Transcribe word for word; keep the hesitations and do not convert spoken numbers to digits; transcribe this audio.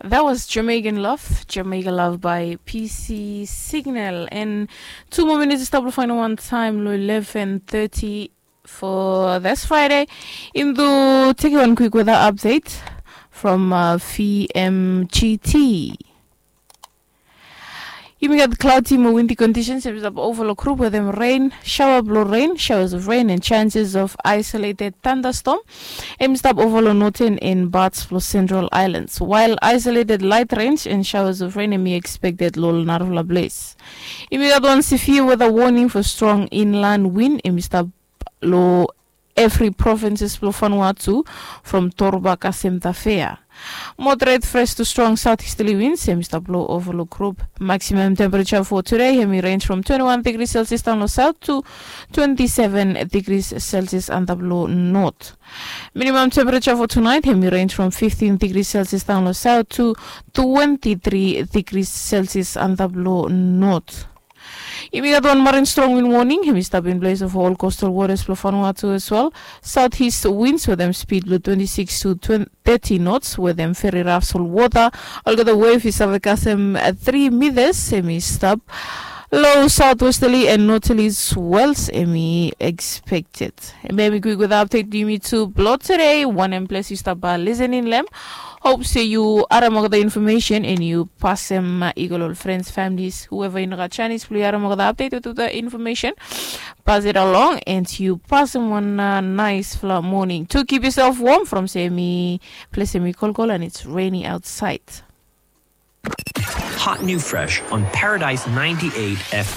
That was Jamaican Love, Jamaica Love by P C Signal. And two more minutes to stop lo final one time, lo eleven thirty for this Friday. Im do take one quick weather update from uh, V M G T. Yumi gat cloudy mo windy conditions. Yumi stap overall group with them rain, shower blue rain, showers of rain, and chances of isolated thunderstorm. Yumi stap overall northern and parts of central islands, while isolated light rain and showers of rain yumi expected lo narafala place. Yumi gat one severe weather warning for strong inland wind yumi stap lo every provinces blong Vanuatu from Torba kasem Tafea. Moderate fresh to strong southeasterly winds hemi stap lo overall group. Maximum temperature for today hemi range from twenty-one degrees Celsius down lo south to twenty-seven degrees Celsius antap lo north. Minimum temperature for tonight hemi range from fifteen degrees Celsius down lo south to twenty-three degrees Celsius antap lo north. Yumi gat one marine strong wind warning hemi stap in place of all coastal waters blong Vanuatu as well. Southeast winds with them speed blong twenty-six to thirty knots with them very rough sol water. Olgeta wave i save kasem three meters hemi stap lo southwesterly and northerly swells hemi expected. Hemi quick with update yumi tu blong today. Wanem ples yu stap listening lem. Hope se yu harim olgeta information and yu pasem i go lo friends, families, whoever yu no gat chance blong yu harim olgeta update with the information. Pass it along and yu pasem one uh, nice fla morning to keep yourself warm from se mi place mi kolkol and it's rainy outside. Hot new fresh on Paradise ninety-eight F M.